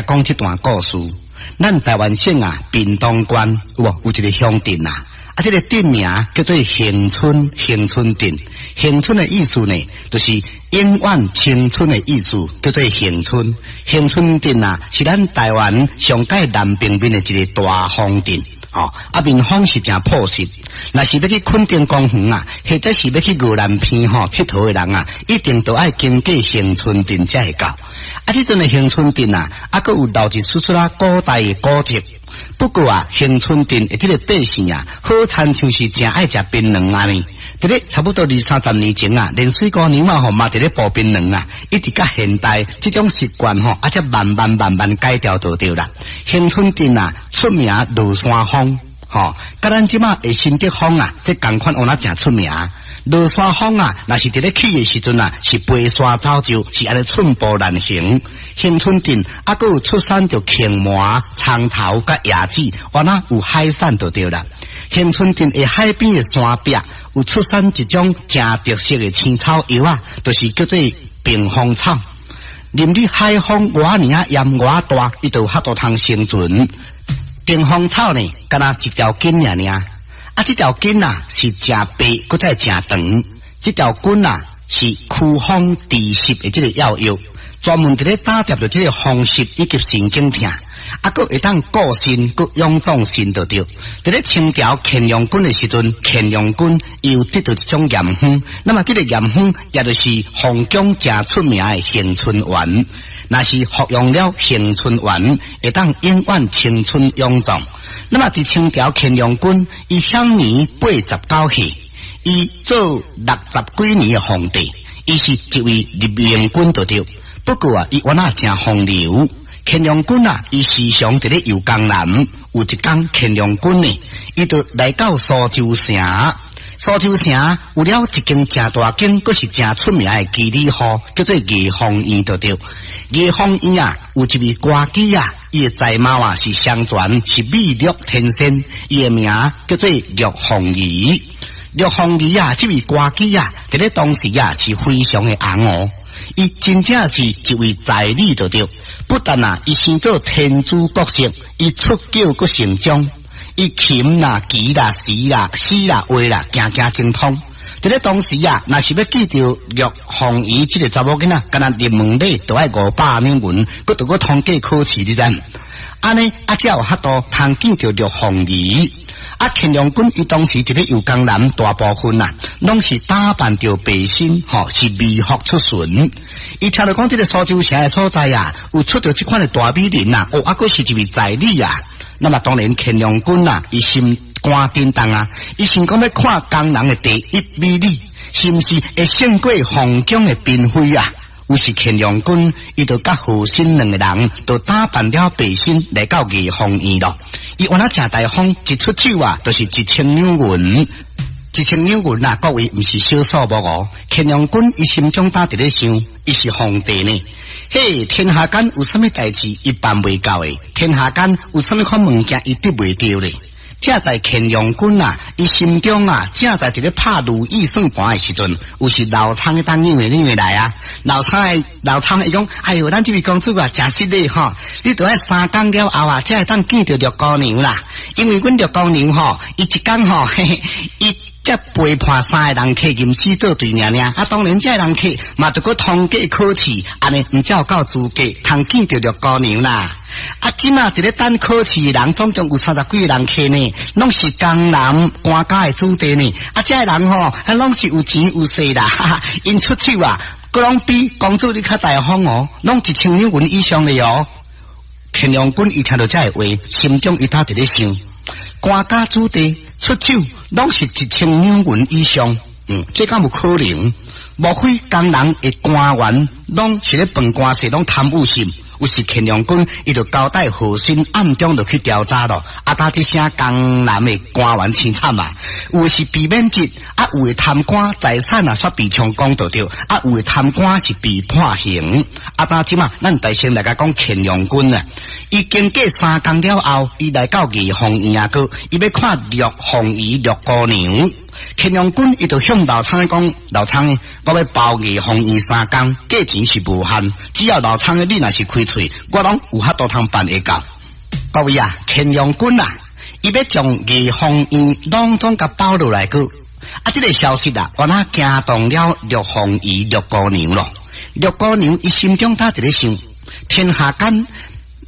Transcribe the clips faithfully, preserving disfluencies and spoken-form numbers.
共講這段故事。咱台灣省啊，屏東縣有無有一個鄉鎮啊？啊，這個鎮名叫做恆春，恆春鎮。恆春的意思呢，就是永遠青春的意思，叫做恆春。恆春鎮啊，是咱台灣上蓋南邊面的一個大風鎮。哦，啊，民風是誠樸實。若是欲去墾丁公園啊，或者是欲去宜蘭鼻吼𨑨迌的人啊，一定都愛經過恆春鎮才會到。啊，這陣的恆春鎮啊，啊，閣有留一絲絲仔古代的古蹟。不過啊，恆春鎮的這個百姓啊，好親像是誠愛食檳榔按呢。佇咧差不多二三十年前啊，連水姑娘啊吼嘛佇咧剝檳榔啊，一直到現代，這種習慣吼，啊才慢慢慢慢改掉就對啦。恆春鎮啊，出名落山風，吼，佮咱這馬的新竹風啊，這仝款有那誠出名。落山風啊，若是佇咧起的時陣啊，是飛沙走石，是按呢寸步難行。恆春鎮啊，閣有出產著蠓蟆、蔥頭佮椰子，原來有海產就對啦。恆春鎮的海邊的山壁有出產一種誠特色的青草藥啊，就是叫做屏風草。淋你海風偌爾仔炎偌大，伊就有法度通生存。屏風草呢，敢若一條筋爾爾。啊，這條筋啊是誠白，閣再誠長。這條筋啊是驅風治濕的這個藥藥，專門佇咧打疊著這個風濕以及神經疼。啊，閣會當固腎，閣養壯腎就對。佇咧清朝乾隆君的時陣，乾隆君伊有得著一種驗方，那麼這個驗方也就是皇宮誠出名的恆春丸。若是服用了恆春丸，會當永遠青春勇壯。那麼佇清朝乾隆君，伊享年八十九歲，伊做六十幾年的皇帝，伊是一位日明君就對。不過啊，伊原來誠風流。乾隆君啊，伊時常佇咧遊江南，有一工乾隆君呢，伊就來到蘇州城。蘇州城有了一間誠大間，閣是誠出名的妓女戶，叫做藝芳院就對。藝芳院啊，有一位歌姬啊，伊的才貌啊是雙全，是美若天仙，伊的名叫做玉鳳儀。玉鳳儀啊，這位歌姬啊，佇咧當時啊是非常的紅哦。伊真正是一位才女就對，不但啊，伊生做天姿國色，伊出腳閣成章，伊琴啦、棋啦、詩啦、詩啦、畫啦，件件精通。佇咧當時啊，若是欲見著玉鳳儀這個查某囡仔，敢若入門禮都愛五百兩銀，閣著閣通過考試，你知？按呢啊，才有法度通見著玉鳳儀。啊，乾隆君伊當時佇咧遊江南，大部分啊，攏是打扮著白身，吼，是微服出巡。伊聽著講這個蘇州城的所在啊，有出著這款的大美人啊，哦，啊，閣是一位才女啊。那麼當然乾隆君啊，伊心肝震動啊，伊想講欲看江南的第一美女，是毋是會勝過皇宮的嬪妃啊？於是乾隆君，伊就佮和珅兩個人，就打扮了白身來到藝芳院咯。伊原來誠大方，一出手啊，就是一千兩銀，一千兩銀啊，各位毋是小數目哦。乾隆君伊心中膽佇咧想，伊是皇帝呢。嘿，天下間有啥物代誌伊辦袂到的？天下間有啥物款物件伊得袂著咧？正在乾隆君啊，伊心中啊，正在佇咧拍如意算盤的時陣，有時老倉的當扭的扭的來啊，老倉的老倉伊講，哎喲，咱這位公主啊，誠失禮吼，你著愛三工了後啊，才會當見著六姑娘啦。因為阮六姑娘吼，伊一工吼，嘿嘿，伊才陪伴三个人客吟詩作對爾爾，啊，當然這個人客嘛，著閣通過考試，按呢毋才有夠資格通見著六姑娘啦。啊，這馬佇咧等考試的人，總共有三十幾個人客呢，攏是江南官家的子弟呢。啊，這個人吼，啊，攏是有錢有勢啦，哈哈，𪜶出手啊，閣攏比公主你較大方哦，攏一千兩銀以上的哦。乾隆君伊聽著這个話，心中伊頭佇咧想，官家子弟出手攏是一千兩銀以上，嗯，這敢有可能？莫非江南的官員攏是咧辦官事，攏貪污心？於是乾隆君伊就交代和珅暗中就去調查咯。啊，打這聲江南的官員凄慘啊！有的是被免職，啊，有的貪官財產啊，煞被充公就對，啊，有的貪官是被判刑。啊，打這馬，咱大先來共講乾隆君啊，伊經過三工了後，伊來到儀鳳院啊，閣伊欲看陸鳳儀陸姑娘。乾隆君伊就向老倉講：老倉，我欲包儀鳳院三工，價錢是無限，只要老倉你若是開喙，我攏有法度通辦會到。各位啊，乾隆君啊，伊欲將儀鳳院攏總共包落來閣。啊，這個消息啊，原來驚動了陸鳳儀陸姑娘咯。陸姑娘伊心中佇咧想：天下間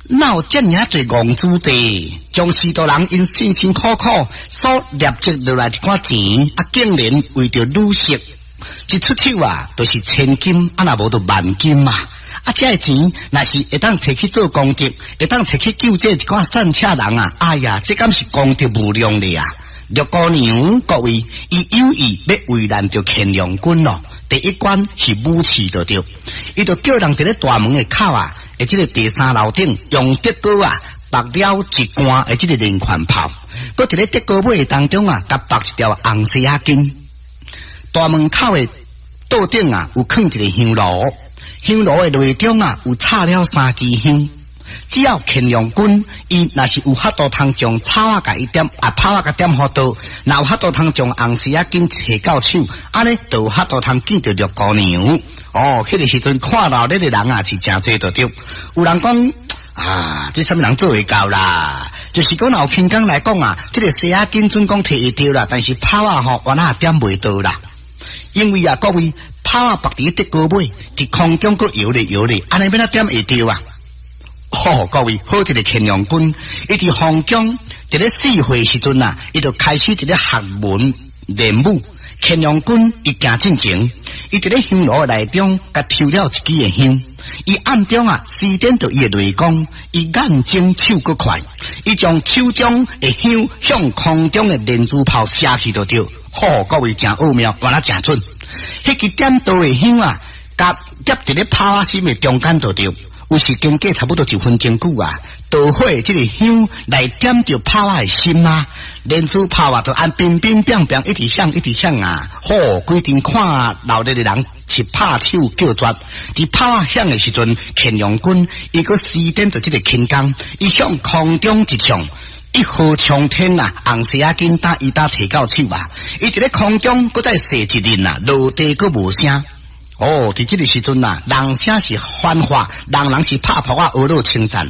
哪有遮爾仔濟戇子弟，將許多人𪜶辛辛苦苦所累積落來一寡錢，啊，竟然為著女色，一出手啊，就是千金，啊，若無就萬金啊！啊，這个錢若是會當提去做功德，會當提去救濟一寡散赤人啊！哎呀，這敢是功德無量的啊！陸姑娘，各位，伊有意欲為難著乾隆君咯。第一關是武器就對，伊就叫人佇咧大門的口啊，的這个第三樓頂用竹篙啊，縛了一罐的這个連環炮，閣佇咧竹篙尾當中啊，共縛一條紅絲仔巾。大門口的桌頂啊，有囥一个香爐，香爐的內中啊，有插了三支香。只要乾隆君，伊若是有法度通將草仔共伊點，啊炮仔共點予著，若有法度通將紅絲仔巾提到手，按呢就有法度通見著陸姑娘。哦，彼个時陣看鬧熱的人啊是誠濟就對。有人講啊，這啥物人做會到啦？就是講若有輕功來講啊，這个絲仔巾準講提會著啦，但是炮仔吼，原來點袂著啦。因為啊，各位炮仔縛佇竹篙尾，佇空中閣搖咧搖咧，按呢欲按怎點會著啊？吼，各位，好一个乾隆君，伊佇皇宮佇咧四歲時陣啊，伊就開始佇咧學文練武。乾隆君伊行進前，伊佇咧香爐內中，共抽了一支的香。伊暗中啊，施展著伊的內功，伊眼精手閣快，伊將手中的香向空中的連珠炮射去就對。吼，各位誠奧妙，原來誠準。彼支點著的香啊，共夾佇咧炮仔心的中間就對。有時經過差不多一分鐘久啊，導火這个香來點著炮仔的心啊，連珠炮啊，就按乒乒乓乓一直響一直響啊！吼，規陣看鬧熱的人是拍手叫絕。佇炮仔響的時陣，乾隆君伊閣施展著這个輕功，伊向空中一衝，一飛衝天啊！紅絲仔巾打伊打提到手啊！伊佇咧空中閣再射一輪啊，落地閣無聲。哦，佇這个時陣啊，人聲是繁華，人人是拍噗仔，呵咾稱讚。